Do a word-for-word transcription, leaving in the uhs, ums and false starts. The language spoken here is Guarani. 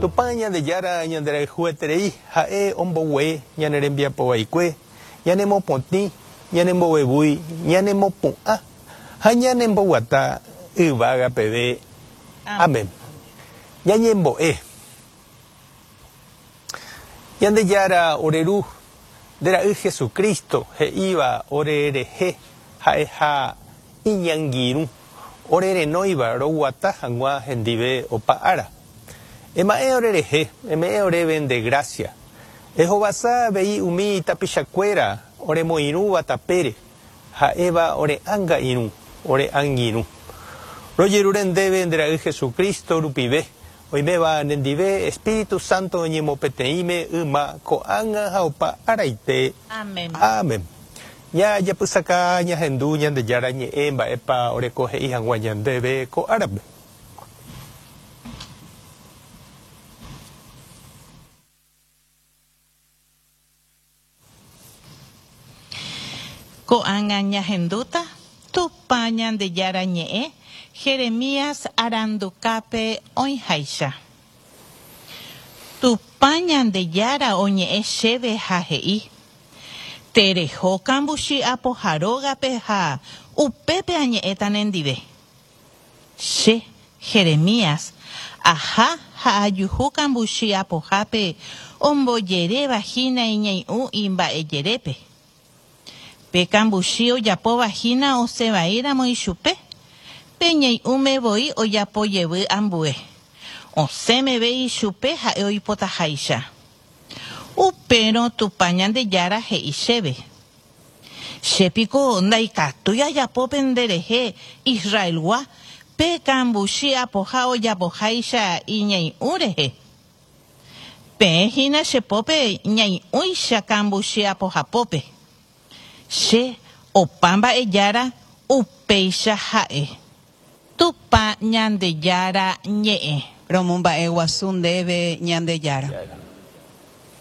Tupã Ñandejára ñanderayhueterei ha'e ombogue ñane rembiapo vaikue, ñanemopotĩ, ñanembovevúi, ñanemopu'ã ha ñanemboguata yvága peve. Amén. Ñañembo'e. Ñandejára ore Ru, nde Ra'y Jesucristo he'íva ore rehe ha'eha iñangirũ, ore renóiva roguata hag̃ua hendive opa ára. Ema'ẽ ore rehe, eme'ẽ oréve nde gracia. Ehovasa avei umi tapichakuéra oremoirũva tapére, ha'éva ore ánga irũ, ore angirũ. Rojerure ndéve nde Ra'y Jesucristo rupive, oiméva nendive Espíritu Santo ñemopeteĩme yma ko'ág̃a ha opa araite. Amén. Amén. Jajapysaka ñahendu Ñandejára ñe'ẽ mba'épa oreko he'i hag̃ua ñandéve ko árape. Ko'ág̃a ñahendúta Tupã Ñandejára ñe'ẽ Jeremías arandukápe oĩháicha. Tupã Ñandejára oñe'ẽ chéve ha he'i: Tereho kambuchi apoha rógape ha upépe añe'ẽta nendive. Che, Jeremías, aha ha ajuhu kambuchi apohápe ombojeréva hína iñai'ũ imba'ejerépe. Pe kambuchi ojapóva hína osẽvaíramo ichupe, pe ñai'ũme voi ojapo jevy ambue. Osẽ meve ichupe ha'e oipotaháicha. Upérõ Tupã Ñandejára he'i chéve: Che piko ndaikatúi ajapo penderehe Israelgua pe kambuchi apoha ojapoháicha iñai'ũ rehe. Peẽ hína che pópe ñai'ũicha kambuchi apohapópe. Che opa mba'ejára upéicha ha'e. Tupã Ñandejára ñe'ẽ. Romomba'eguasu ndéve Ñandejára.